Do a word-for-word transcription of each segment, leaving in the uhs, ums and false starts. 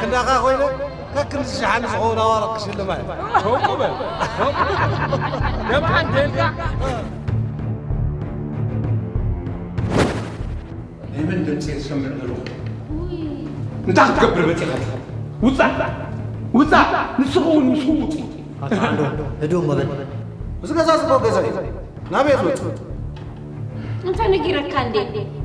ክንዳኻ ኮይነ ከክንዲ ሸሓኒ ዝኸውን ኣዋርቅ ክሽልም ኣየ። ከምኡ በል። ከምኡ በል። ገብአ እንዴልካ። ለምን ድምጼ ትሰምዕ ዘለኹ? እንታይ ክትገብር መጺኻ? ውጻእ! ውጻእ! ንስኻ እውን ምስኡ ውጹ። ኣታ ዓንዶ፣ ህዱእ እሞ በል። እዚ ገዛ ዝኮ ገዛ እዩ። ናበይ ትወጽእ? እንተ ነጊረካ እንዴ?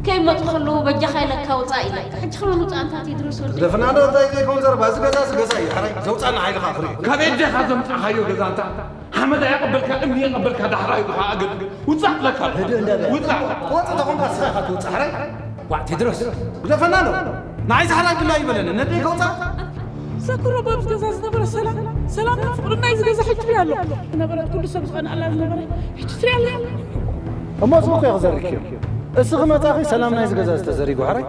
ከይመጹ ከለዉ በጃኻ ኢለካ ውጻእ ኢለካ። ሕጂ ከመን ውጻእ እንታ ቴድሮስ ወዲ? ግደፍና ዶ እንታይ ዘይኮን ዘርባ፣ እዚ ገዛ እዚ ገዛ እዩ። ሓራይ ዘውጻና ሓይልኻ ኣኽሪ። ካብ ኤዴኻ ዘምጻኻዮ ገዛ እንታ ሓመድ ኣየቐበልካ፣ እምኒ የቐበልካ፣ ዳሕራይ ኢኻ ኣገድ። ውጻእ ለካ። ህዱእ እንደ በል። ውጻእ። ወጽእ ተኾንካ ስኻ ኢኻ ትውጻእ። ሓራይ። ዋዕ ቴድሮስ፣ ግደፈና ዶ? ንዓይ ዛሕራ ግላ ይበለኒ፣ ነደይ ከውጻእ? ዘክሮ በብዝ ገዛ ዝነበረ ሰላም፣ ሰላምን ፍቅርን ናይዚ ገዛ ሕጂ ኣሎ። ዝነበረት ኩሉ ሰብ ዝቐንኣላ ዝነበረ፣ ሕጂ ትሪኣ ኣለያ። እሞ እዚ እኮ ይኽዘርክ እዩ። እስኺ መጻኺ ሰላም ናይዚ ገዛ ዝተዘሪጉ፣ ሓራይ?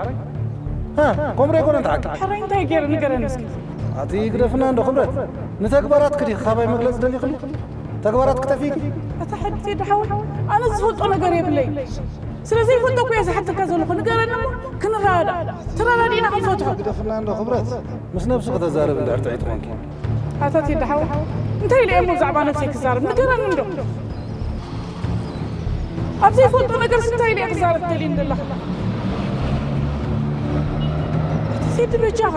ሃ፣ ኮምሬ ኮነ እንተ ሓቂ። ሓራይ እንታይ ገይረ ንገረኒ እስኪ። ኣቲ ግደፍና እንዶ ክብረት፣ ንተግባራትኪ ዲኺ ካባይ መግለጺ ደሊኽሊ? ተግባራት ክጠፊኪ? ኣታ ሕድቴ ደሓወይ፣ ኣነ ዝፈልጦ ነገር የብለይ። ስለ ዘይፈልጦ እኮ እየ ዝሓተካ ዘለኹ። ንገረኒ እሞ ክንረዳዳእ። ተረዳዲእና ክንፈትሖ። ግደፍና እንዶ ክብረት፣ ምስ ነብሱ ከተዛረብ እንድሕር ጥዑይ ትኾንኪ። ኣታ ቴዲ ሓወይ፣ እንታይ ኢለ እየ እሞ ብዛዕባ ነብሰይ ክዛረብ? ንገረኒ እንዶ። ኣብ ዘይፈልጦ ነገርስ እንታይ ኢለ እየ ክዛረብ ትደልየኒ ዘለኻ? ኣቲ ቴዲ በጃኻ።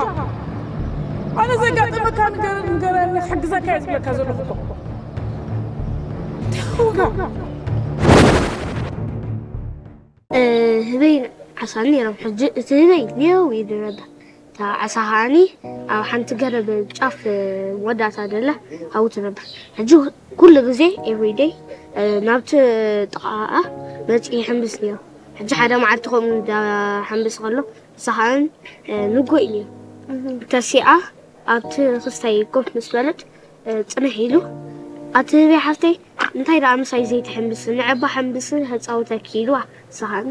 ኣነ ዘጋጠመካ ነገር ንገረኒ፣ ክሕግዘካ እየ ዝብለካ ዘለኹ እኮ። እንታይ ኮንካ? እ፣ ህበይ ዓሳ ነይሮም። ሕጂ እቲ ህበይ ኔው ኢሉ ነበር። እታ ዓሳ ከኣኒ ኣብ ሓንቲ ገረብ ጫፍ መወዳእታ ደላ ሃውቲ ነበር። ሕጂ ኩሉ ግዜ፣ ኤቭሪደይ፣ እ፣ ናብቲ ጥቓኣ መጺኡ ይሕምብስ ነይሩ። ሕጂ ሓደ መዓልቲ ከምኡ እንዳሓምብስ ከሎ፣ ንሳ ከኣኒ፣ እ፣ ንጎ ኢሉ ነይሩ። ተሲኣ ኣብቲ ክስታይ ኮፍ ምስ በለት፣ እ፣ ጽንሕ ኢሉ፣ ኣቲ ህበይ ሓፍተይ፣ እንታይ ደኣ ምሳይ ዘይትሕምብስ? ንዕባ ሕምብስ፣ ከጻውተኪ ኢልዋ። ንሳ ከኣኒ፣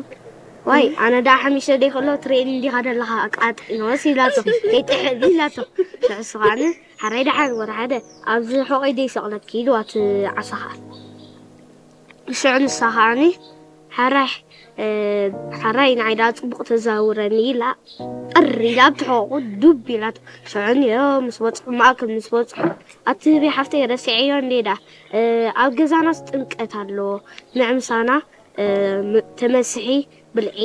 ዋይ፣ ኣነ ደኣ ሓሚሸ ደይ ከሎ ትርእየኒ እንዲኻ ደለኻ ኣቃጢኖስ ኢላቶ። ከይጥሕል ኢላቶ። ንሱ ከኣኒ፣ ሓራይ ደሓን ወራሓደ፣ ኣብዚ ሑቐይ ደይ ሰቕለኪ ኢልዋ እቲ ዓሳ ከኣ። ሽዑ ንሳ ከኣኒ፣ ሓራይ፣ እ፣ ሓራይ ንዓይ ደኣ ጽቡቕ ተዛውረኒ ኢላ፣ ጠር ኢላ ኣብቲ ሕቖኡ ዱብ ኢላቶ። ሽዑ ንዮ ምስ በጽሑ፣ ማእከል ምስ በጽሑ፣ ኣቲ ህበይ ሓፍተይ ረሲዐዮ እንዴ ደኣ፣ እ፣ ኣብ ገዛናስ ጥምቀት ኣሎ፣ ንዕ ምሳና፣ እ፣ ም-፣ ተመስሒ ብልዒ፣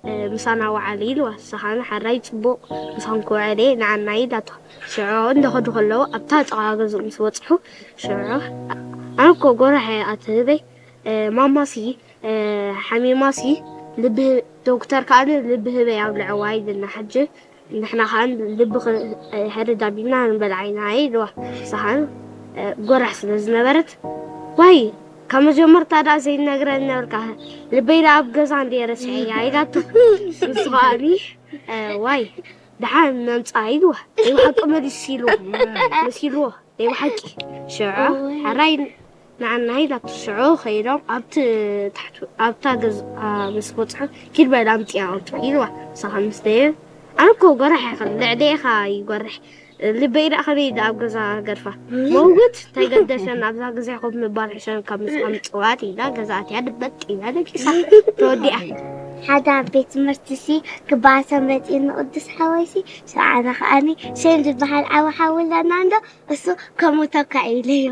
እ፣ ምሳና ወዓሊ ኢልዋ። ንሳ ከኣኒ ሓራይ ጽቡቕ ምሳኹም ክውዕል እየ ንዓና ኢላቶ። ሽዑ እንደ ከዱ ከለዉ ኣብታ ጥቓ ገዝኡ ምስ በጽሑ፣ ሽዑ ኣነ እኮ ጎራሕ እየ ኣቲ ህበይ፣ እ፣ ማማሲ፣ እ፣ ሓሚማሲ ልቢ ህ-፣ ዶክተር ከኣኒ ልቢ ህበይ ኣብልዕዋ ኢልና፣ ሕጂ ንሕና ከኣ ልብኺ፣ እ፣ ሕርድ ኣቢልና ንበልዓ ኢና ኢልዋ። ንሳ ከኣ፣ እ፣ ጎራሕ ስለ ዝነበረት፣ ዋይ፣ ካብ መጀመርታ ደኣ ዘይነግረኒ ነበርካ፣ ልበይ ደኣ ኣብ ገዛ እንዴ ረሲዐያ ኢላቶ። ንሱ ከኣኒ፣ እ፣ ዋይ፣ ደሓን ነምጽኣ ኢልዋ። ናይ ብሓቂ መሊሱ ኢልዋ። መሲልዎ። ናይ ብሓቂ። ሽዑ እወ። ሕራይ ንዓና ኢላቶ። ሽዑ ከይዶም ኣብቲ ታሕቲ፣ ኣብታ ገዝኣ ምስ በጽሑ፣ ኪድ በል ኣምጽኣ ኣውጽእ ኢልዋ። ንሳ ከኣ ምስ ደየ፣ ኣነ እኮ ጎራሕ እየ፣ ልዕሌኻ ይጎርሕ። ልበይ ደኣ ከመይ ኢላ ኣብ ገዛ ገድፋ። መውት ተገደሸን ኣብዛ ግዜ ኮፍ ምባል ሕሸን ካብ ምስኣ ምጽዋት ኢላ ገዛ ኣትያ ድበጥ ኢላ ደቂሳ። ተወዲኣ። ሓደ ኣብ ቤት ትምህርትሲ ክበኣሰ መጺኡ ንቅዱስ ሓወይሲ፣ ሽዑ ኣነ ከኣኒ ሴን ዝበሃል ዓቢ ሓው ኣለና እንዶ፣ እሱ ከምኡ ተካኢ ኢለዮ።